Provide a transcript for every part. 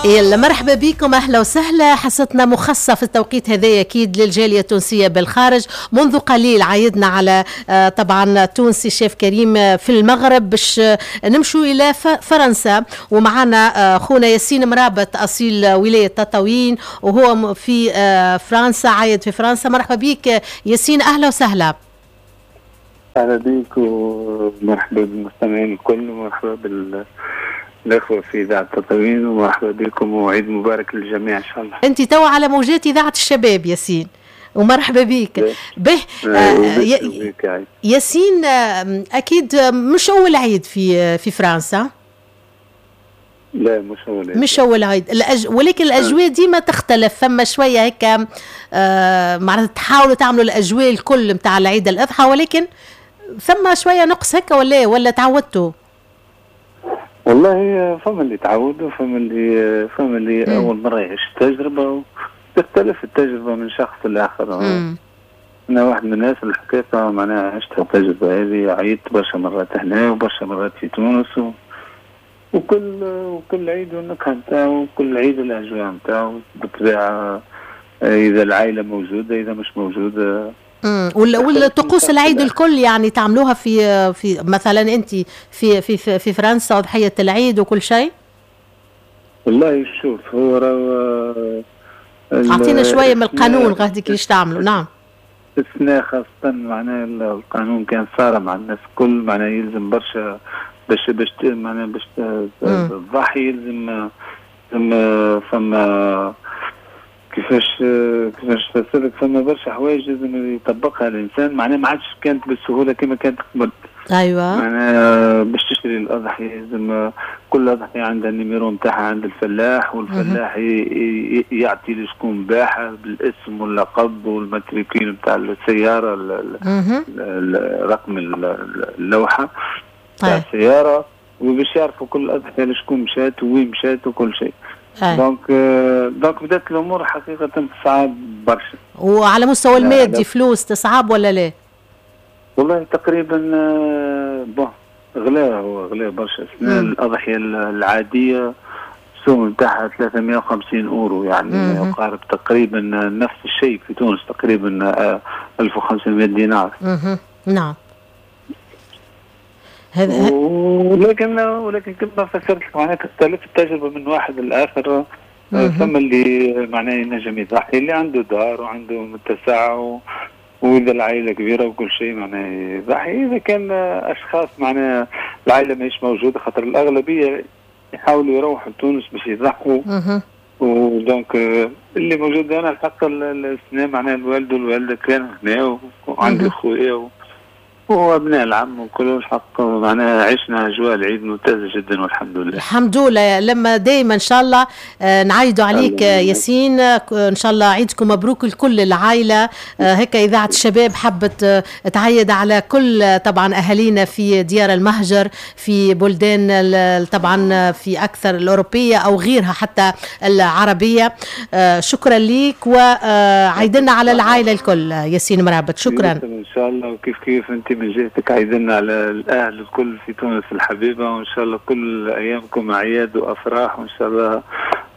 يلا مرحبا بكم، اهلا وسهلا. حصتنا مخصصة في التوقيت هذا اكيد للجاليه التونسية بالخارج. منذ قليل عايدنا على طبعا تونسي شيف كريم في المغرب، باش نمشوا الى فرنسا ومعنا خونا ياسين مرابط اصيل ولاية تطاوين وهو في فرنسا، عايد في فرنسا. مرحبا بك ياسين، اهلا وسهلا. اهلا بك ومرحبا بالمستمعين الكل ومرحبا الأخوة في إذاعة تطاوين ومرحبا بكم وعيد مبارك للجميع إن شاء الله. أنت توا على موجات إذاعة الشباب ياسين ومرحبا بك. به ياسين، أكيد مش أول عيد في فرنسا. لا مش أول عيد، مش أول عيد. ولكن الأجواء ديما تختلف، فما شوية هيك معناتها تحاولوا تعملوا الأجواء الكل نتاع العيد الأضحى، ولكن ثم شوية نقص هكا ولا تعودتوا؟ والله فما اللي تعود وفما اللي اول مرة يعيش التجربة، وتختلف التجربة من شخص لاخر. انا واحد من الناس الحقيقة معناها عشت التجربة هذه، عيدت برشا مرات هنا وبرشا مرات في تونس وكل عيد والنكهه نتاعو وكل عيد الاجواء نتاعو. بالطبيعة اذا العائلة موجودة، اذا مش موجودة. والطقوس العيد الكل يعني تعملوها في مثلا انت في في في فرنسا اضحية العيد وكل شيء؟ والله شوف، هو اعطينا شوية من القانون غادي كيفاش تعملوا. نعم، السنة خاصة معناها القانون كان صارم مع الناس الكل، معناها يلزم برشا باش معناها باش تضحي، يلزم فما كيفاش تفسرك، فما برشا حوايج لازم يطبقها الانسان، معناها ما عادش كانت بالسهولة كما كانت قبل. ايوه، معناها باش تشتري الاضحية لازم كل اضحية عندها ال numéro نتاعها عند الفلاح، والفلاح يعطي لشكون باعها بالاسم واللقب وال matricule نتاع السيارة، رقم اللوحة نتاع السيارة، وباش يعرفوا كل اضحية لشكون مشات وين مشات وكل شيء. donc بدات الامور حقيقة تصعب برشا. وعلى مستوى المادي فلوس تصعب ولا لا؟ والله تقريبا bon غلا، هو غلا برشا. الاضحية العادية السوم نتاعها 350 اورو، يعني يقارب تقريبا نفس الشيء في تونس، تقريبا 1500 دينار. نعم. ولكن كما فسرت لك معناها تختلف التجربة من واحد للاخر. ثم اللي معناه ينجم يضحي، اللي عنده دار وعنده متسع واذا العائلة كبيرة وكل شيء معناه يضحي. اذا كان اشخاص معناها العائلة ماهيش موجودة، خاطر الاغلبية يحاولوا يروحوا لتونس باش يضحوا. و donc اللي موجود انا الحق السنة معناها الوالد والوالدة كانوا هنا وعندي خويا وابناء العم وكل الحق معناها عشنا اجواء العيد ممتازة جدا والحمد لله. الحمد لله. لما دايما ان شاء الله نعيدوا عليك ياسين، ان شاء الله عيدكم مبروك لكل العائلة. هيك اذاعة الشباب حبت تعيد على كل طبعا اهالينا في ديار المهجر، في بلدان طبعا في اكثر الاوروبية او غيرها حتى العربية. شكرا ليك وعيدنا على العائلة الكل ياسين مرابط. شكرا. ان شاء الله. وكيف كيف انت من جهتك عيدنا على الأهل الكل في تونس الحبيبة، وإن شاء الله كل أيامكم أعياد وأفراح، وإن شاء الله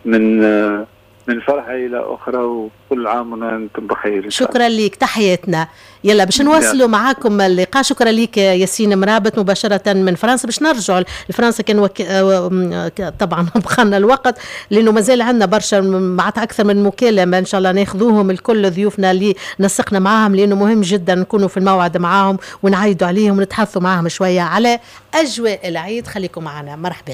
من فرحة إلى أخرى، وكل عام وأنتم بخير. شكرا لك، تحياتنا. يلا باش نواصلوا معاكم اللقاء. شكرا لك ياسين مرابط مباشرة من فرنسا. باش نرجعوا لفرنسا كان طبعا بخلنا الوقت لأنه مازال عندنا برشا معناتها أكثر من مكالمة إن شاء الله ناخذوهم الكل ضيوفنا اللي نسقنا معاهم، لأنه مهم جدا نكونوا في الموعد معاهم ونعيدوا عليهم ونتحدثوا معاهم شوية على أجواء العيد. خليكم معنا، مرحبا.